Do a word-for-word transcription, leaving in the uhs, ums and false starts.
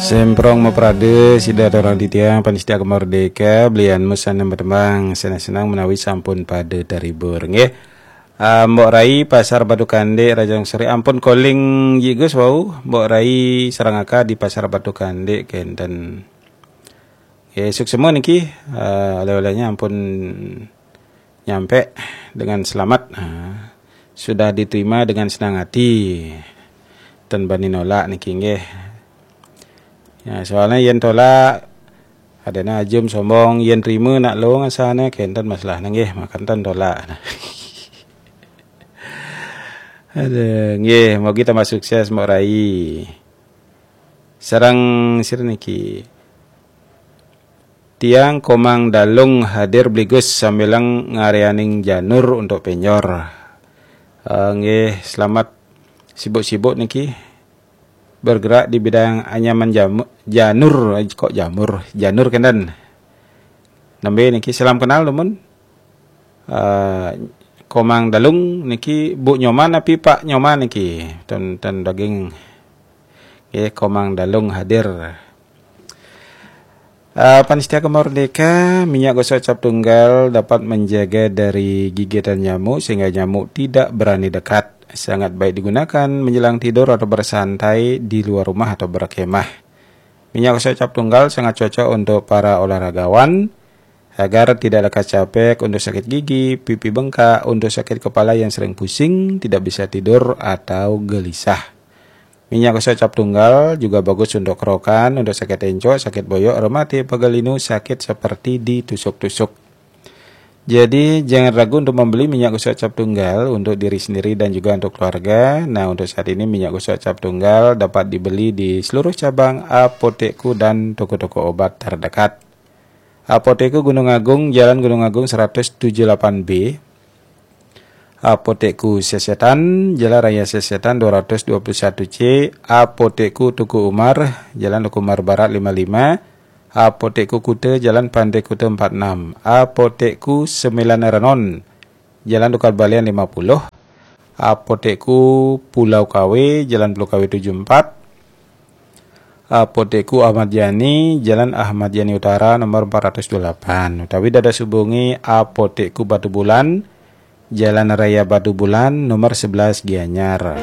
Semprong maprade sida torang titiang panitia Gema Merdeka, belian mu sanang bertembang, senang-senang menawi sampun pada terhibur, nggih. Ah, Mbok Rai, Pasar Batu Kandik, Rajang Seri, ampun calling Ji Gus wau, Mbok Rai sareng Aka di Pasar Batu Kandik kenten. Nggih, suksema niki, ah, oleh-olehnya ampun nyampe dengan selamat. Ah, sudah diterima dengan senang hati. Ten bani nolak niki, nggih. Ya, soalnya yen tolak, adana ajum sombong, yen terima nak long asane kenten masalahne, nggih, makan ten tolak. Aduh, nggih, mugi tambah sukses, Mbok Rai. Sareng sira niki. Tiang Komang Dalung hadir, Bli Gus, sambilang ngarianing janur untuk penyor. Eh, nggih, selamat sibuk-sibuk niki. Bergerak di bidang anyaman jamu, janur, eh, kok jamur, janur kenten. Nembe niki, salam kenal, dumun. Eh, Komang Dalung niki Bu Nyoman api Pak Nyoman niki? Ten, ten daging. Nggih, Komang Dalung hadir. Ah, panitia Gema Merdeka, minyak gosok cap tunggal dapat menjaga dari gigitan nyamuk sehingga nyamuk tidak berani dekat. Sangat baik digunakan menjelang tidur atau bersantai di luar rumah atau berkemah. Minyak gosok cap tunggal sangat cocok untuk para olahragawan agar tidak lekas capek, untuk sakit gigi, pipi bengkak, untuk sakit kepala yang sering pusing, tidak bisa tidur atau gelisah. Minyak gosok cap tunggal juga bagus untuk kerokan, untuk sakit encok, sakit boyok, rematik, pegal linu, sakit seperti ditusuk-tusuk. Jadi, jangan ragu untuk membeli minyak gosok cap tunggal untuk diri sendiri dan juga untuk keluarga. Nah, untuk saat ini minyak gosok cap tunggal dapat dibeli di seluruh cabang Apotekku dan toko-toko obat terdekat. Apotekku Gunung Agung, Jalan Gunung Agung seratus tujuh delapan B. Apotekku Sesetan, Jalan Raya Sesetan dua ratus dua puluh satu C. Apotekku Teuku Umar, Jalan Teuku Umar Barat lima lima. Apotekku Kuta, Jalan Pantai Kuta empat enam. Apotekku Sembilan Renon, Jalan Tukad Balian lima puluh. Apotekku Pulau Kawe, Jalan Pulau Kawe tujuh empat. Apotekku Ahmad Yani, Jalan Ahmad Yani Utara nomor empat ratus dua puluh delapan. Utawi dados hubungi Apotekku Batu Bulan, Jalan Raya Batu Bulan nomor sebelas Gianyar.